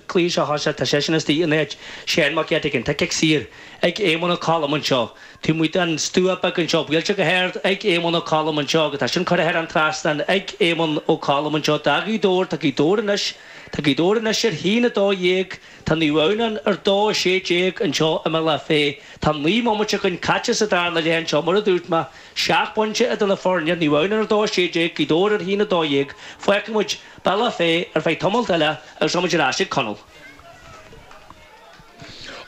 Cluiche seo thosaigh, tá seisean istigh in áit Shane Mac Eiteagáin. Tá cic saor ag Éamonn Ó Colm anseo. Taobh amuigh den stua beag anseo, buailte go hard ag Éamonn Ó Colm anseo agus tá sin curtha thar an trasnán ag Éamonn Ó Colm anseo. Do Ghaoth Dobhair, tá Gaoth Dobhair anois, tá Gaoth Dobhair anois ar 1-12, tá Naomh Adhamhnáin ar 2-16 anseo i mBealach Féich. Tá 9 mbomaite againn caite sa darna leath anseo, mar a dúirt mé, 7 bpointe idir na foirne, Naomh Adhamhnáin ar 2-16, Gaoth Dobhair ar 1-12. Fágfaidh muid Bealach Féich ar feadh tamalt eile agus rachaidh muid ar ais ag Conall.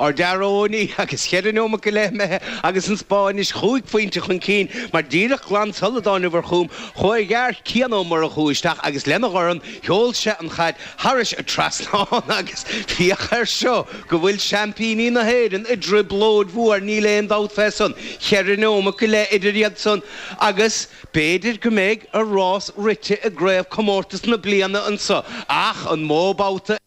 Ardfhear Eoiní agus cheithre neomat go leith imithe agus an Spá anois chúig phointe chun cinn mar díreach glan sula dtáinabhar chugam chuaigh a fhear Cian Ó Murchú isteach agus lena dhorn sheol sé an chaid thairis an trasnán agus féach air seo go bhfuil seaimpíní na hÉireann i dtrioblóid mhór níl aon dabht fé san. Cheithre neomat go leith idir iad san agus B'fhéidir go mbeidh a rás rite i gcraobhchomórtas na bliana anso ach an mó babhta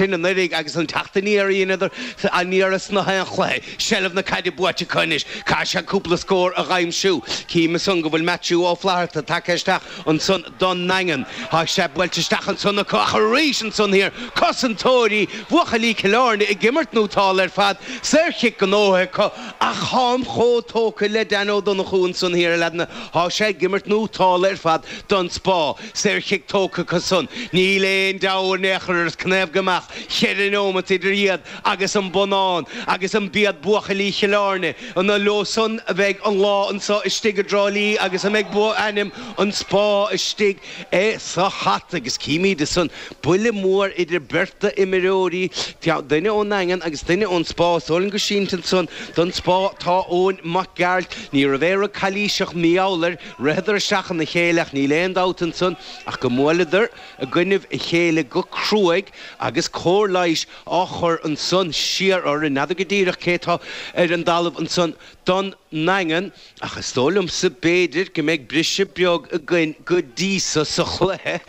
sin anuraidh agus an teacht aniar a dheineadar aniar sna haon chluiche. Seilbh na caide buaite acu anois. Caithfidh siad cúpla scór a dh'aimsiú. Cím ansan go bhfuil Maitiú Ó Flatharta tagtha isteach ansan don nDaingean. Tá sé buailte isteach ansan acu ach arís ansan thiar cosantóirí bhuachaillí Chill Airne ag imirt nótálta ar fad. Saorchic gnóthaithe acu. Ach tháim chomh tógtha le Dan Ó Donnchú ansan thiar, a leaideanna. Thá sé ag imirt nótálta ar fad don Spá. Saorchic tógtha acu san. Níl aon deabhadh in aon chor ar cnaobh go mbeadh cheithre neomat idir iad agus an bonnán agus an b'iad buachaillí Chill Airne an leo san a bheidh an lá anso istigh i dTrá Lí agus a mbeidh ainm an Spá istigh sa hata agus címid ansan buille mór idir beirt d'imreoirí, duine ón nDaingean agus duine ón Spá. Is dóigh liom gur sínte ansan don Spá tá Eoin Mac Gearailt. Ní raibh aon rud calaoiseach mí-ámhail air, ritheadar isteach ina chéile ach níl aon dabht ansan ach go mbuaileadar i gcoinnibh a chéile go cruaidh agus cóir leighis á chur ansan siar orthu. N'fheadar go díreach cé tá ar an dtalamh ansan don nDaingean. Ach is dóigh liomsa b'fhéidir go mbeidh briseadh beag againn go dtí so sa chluiche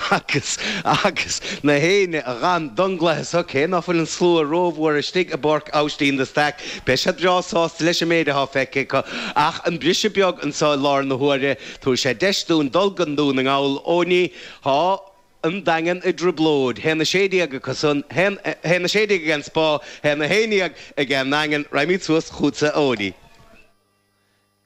agus agus na héinne a dh'fhan don gcluiche so, cé ná fuil an slua rómhór istigh i bPáirc Aibhistín de Staic, beidh siad breá sásta leis an méid athá feicthe acu. Ach an briseadh beag anso i lár na huaire, tabharfaidh sé deis dúinn dul go Dún na nGall. Eoiní, thá an Daingean i dtrioblóid. Haon 16 acu san, haon 16 ag an Spá, haon 11 ag an nDaingean. Raghaimid suas chugatsa, a Eoiní.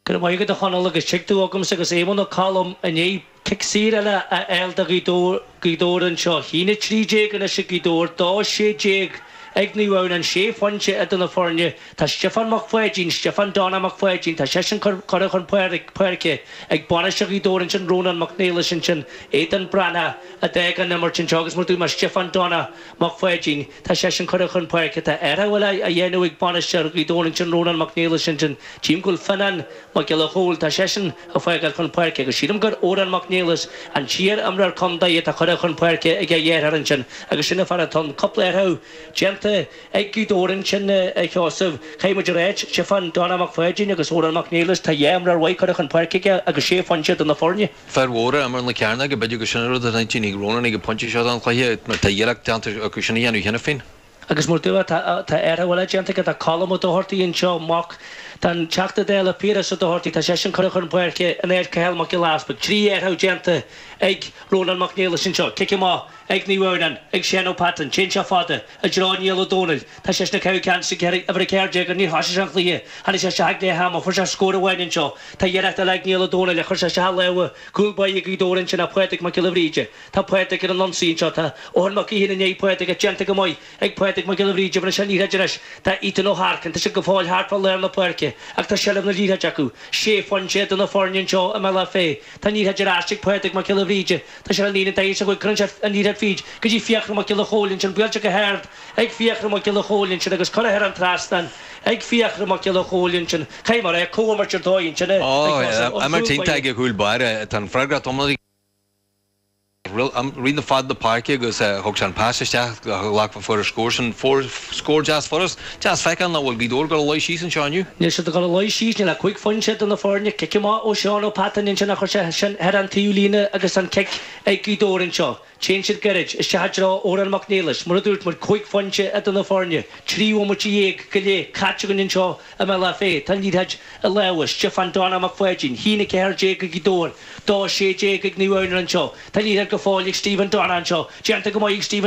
Go raibh maith agat a Chonaill agus tig tú agamsa agus Éamonn Ó Colm i ndiaidh cic saor eile a fháil do Ghaoth Dobhair anseo. 1-13 anois ag Gaoth Dobhair, 2-16 ag Naomh Adhamhnáin, sé phointe idir na foirne. Tá Stiofán Mac Pháidín, Stiofán Donna Mac Pháidín, tá seisean curtha chun páirce ag bainisteoir Ghaoth Dobhair ansin, Rónán Mac Niallais ansin, Aodán Breathnach a d'fhág an imirt anseo agus mar dúirt mé Stiofán Donna Mac Pháidín, tá seisean curtha chun páirce. Tá athrú eile á dhéanamh ag bainisteoir Ghaoth Dobhair ansin, Rónán Mac Niallais ansin. Tchím go bhfuil Fionnán Mac Giolla Chóill, tá seisean ag fágáil chun páirce agus sílim gur Odhrán Mac Niallais, an t-iar-imreoir contae atá curtha chun páirce ag a dheartháir ansin agus sin an fear atá ann. Cúpla athrú déanta ag Gaoth Dobhair ansin, a Sheosaimh. Caithfidh muid a ráit, Stiofán Donna Mac Pháidín agus Odhrán Mac Niallais, tá dhá imreoir mhaith curtha chun páirce aige agus sé phointe idir na foirne. Fear mhóra a imir na cearnóga, b'fhéidir gur sin an rud atá intinn ag Rónán ag an bpointe seo den chluiche, mar tá iarracht déanta acu sin a dhéanamh cheana féin. Agus mar dúirt, tá athrú eile déanta aige, tá Colm Ó Dochartaigh anseo, mac don Teachta Dála Piaras Ó Dochartaigh, tá seisean curtha chun páirce in áit Cathal Mac Giolla Easpaig. 3 athrú déanta ag Rónán Mac Niallais anseo. Cic amach ag Naomh Adhamhnáin, ag Seán Ó Peatain. Téann sé fada i dtreo Niall Ó Dónaill. Tá seisean ag caitheamh ceann sa uimhir 14 níor thosaigh sé an chluiche. Tháinig sé isteach ag leath ama, fuair sé scór amháin anseo. Tá iarracht eile ag Niall Ó Dónaill ach chuir sé isteach a lámha cúl báire Ghaoth Dobhair ansin ach Pádraig Mac Giolla Bhríde. Tá Pádraig ar an ionsaí anseo. Tá Eoghan Mac Uidhir i ndiaidh Pádraig ach déanta go maith ag Pádraig Mac Giolla Bhríde. Bhaineann sé an liathróid anois. Tá Ethan Ó hEarcáin. Tá siad go fóill thart fá lár na páirce ach tá seilbh na liathróide acu. Sé phointe idir na foirne anseo i mBealach Féich. Tá an liathróid ar ais ag Pádraig Mac Giolla Bhríde. Tá sé ar an líne daichead is a chúig. Cuireann sé an liathróid fríd go dtí Fiachra Mac Giolla Chóill ansin. Buailte go hard ag Fiachra Mac Giolla Chóill ansin agus curtha thar an trasnán ag Fiachra Mac Giolla Chóill ansin. Caithfidh mé a rá, comhimirt ar dóigh ansin a Sheosaimh ón Imirt chúl iontach báire. ag an chúl báire. Tá an freagracht iomlán aige. Rith fad na páirce agus thug sé an pas isteach ghlac fuair an scór sin. Fuair scór deas furast. Deas feiceáil nach bhfuil Gaoth Dobhair ag dul a luí síos anseo inniu. Níl siad ag dul a luí síos, níl ach 5 phointe idir na foirne. Cic amach ó Seán Ó Peatáin ansin ach chuir sé sin thar an taobh líne agus an cic. ag Gaoth Dobhair anseo. Téann siad gairid isteach i dtreo Odhrán Mac Niallais. Mar a dúirt muid, 5 phointe idir na foirne, 3 bhomaite go leith caite againn anseo i mBealach Féich. Tá an liathróid i lámha Stiofán Donagh Mac Pháidín, 1-14 ag Gaoth Dobhair, 2-16 ag Naomh Adhamhnáin anseo. Tá an liathróid go fóill ag Stephen Donagh anseo. Déanta go maith ag Stephen.